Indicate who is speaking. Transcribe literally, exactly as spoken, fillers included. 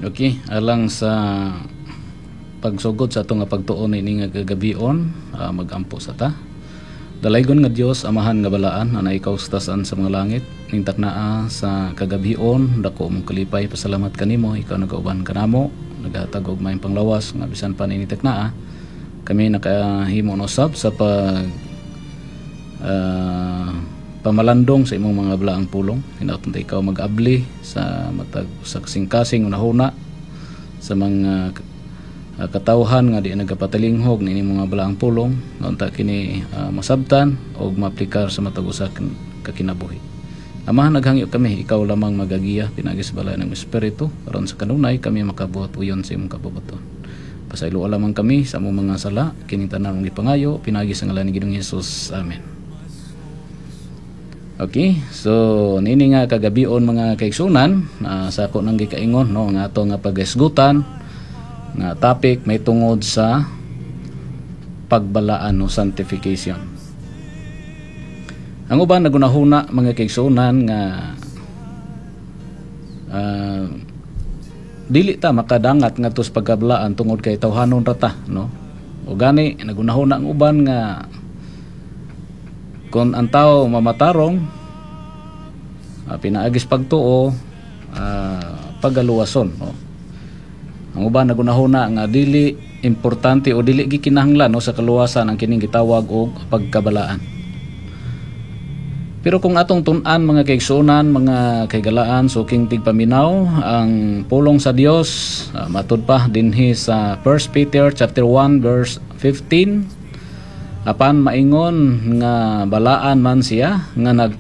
Speaker 1: Okay, alang sa pagsugod sa atong nga pagtuon ini nga kagabion, ah, magampo sa ta. Dalaygon nga Dios, Amahan nga balaan, ana ikaw sa taas-an sa mga langit, ning taknaa sa kagabion, dako mong kalipay, pasalamat kanimo, ikaw nagauban kanamo, naghatag og maayong panglawas nga bisan pa nini taknaa, kami nakahimo no usab sa pag ah, pamalandong sa imong mga balaang pulong. Hinaot ta ikaw mag-abli sa matag sa kasing-kasing unahuna sa mga uh, katawhan nga di nagapatalinghog niini mga balaang pulong nga unta kini ah, masabtan og maaplikar sa matag usa ka kinabuhi. Amahan, naghangyo kami, ikaw lamang magagiya pinaagi sa balaan ng Espiritu aron sa kanunay kami makabuhat uyon sa imong kabubut-on. Pasayloa lamang kami sa among mga sala, kining tanan mong gipangayo pinaagi sa ngalan ni Ginoong Hesus. Amen. Okay, so nini nga kagabion, mga kaigsunan, uh, sa ako nang gikaingon, no, nga ato nga paghisgutan nga topic may tungod sa pagbalaan o sanctification. Ang uban nagunahuna, mga kaigsunan, nga ah, dili ta makadangat ngadto sa pagkabalaan tungod kay tawhanon ra ta, no? O gani nagunahuna ang uban nga kung ang tao mamatarong uh, pinaagi sa pagtuo, uh, pagaluwason, no? Ang uban nagunahuna nga dili importante o dili gikinahanglan, no, sa kaluwasan ang kining gitawag og pagkabalaan. Pero kung atong tun-an, mga kaigsuonan, mga kahigalaan, suking tigpaminaw, ang pulong sa Dios uh, matud pa dinhi sa First Peter chapter one verse fifteen, apan maingon nga balaan man siya nga nag